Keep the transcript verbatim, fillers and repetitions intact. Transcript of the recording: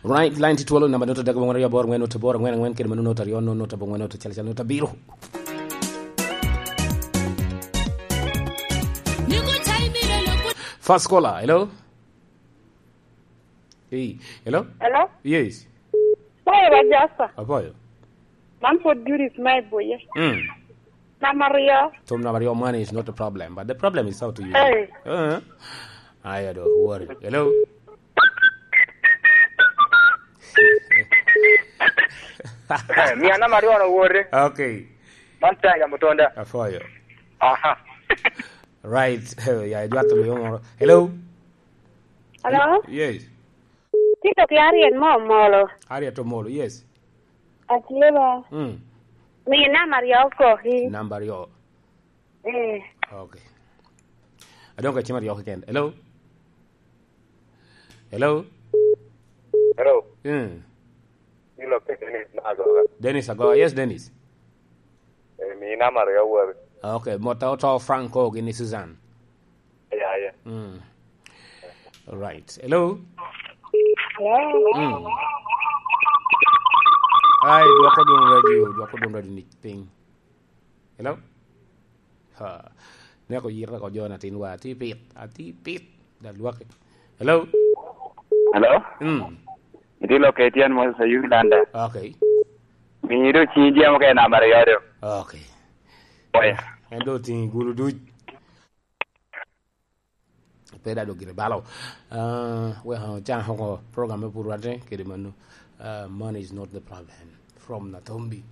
Right, line tye twolo, namba note adek abongwen aryo aboro angwen note aboro angwen angwen, kede mano note aryo note note abongwen note acel acel note abiro. First caller, hello? Hey, hello? Hello? Yes. Pwoyo ba Jasa. Apoyo. Man pwod Judith ma i Buye. Mm. Namba aryo. Tom namba aryo, money is not a problem, but the problem is how to use it. Hey. Uh-huh. I don't worry. Hello? Eh, mia namba aryo no wore. Okay. Man Tiger Mutonda. Apoyo. Aha. Right. Ya, idwato luyo moro. Hello? Hello? Yes. Tito ki Ariel mo molo. Ariel to molo, yes. Atye ba. Mm. Mi namba aryo koki. Namba aryo. Eh. Okay. Adong ka cim aryo keken. Hello? Hello? Hello? Mm. Ilo ke Dennis Agoga. Dennis Agoga. Yes, Dennis. Eh, mi namba aryo wori. Okay, mota oto Franco gini Susan. Yeah, yeah. Mm. All right. Hello? Hello? Mm. Ai, dwoko dum radio, dwoko dum radio ni piny. Hello? Ha. Neko yita ko jo na tin wa, ati pit, ati pit. Da lwaki. Hello? Hello? Mm. Iti lo ke tyen mo sa Uganda. Okay. Mi do chi jam ke namba aryo do. Okay. Oya. En do tin gulu duc. Pe da do gire balo. Uh, we ha chan hoko program me purwate kede manu. Uh, money is not the problem. From Natombi.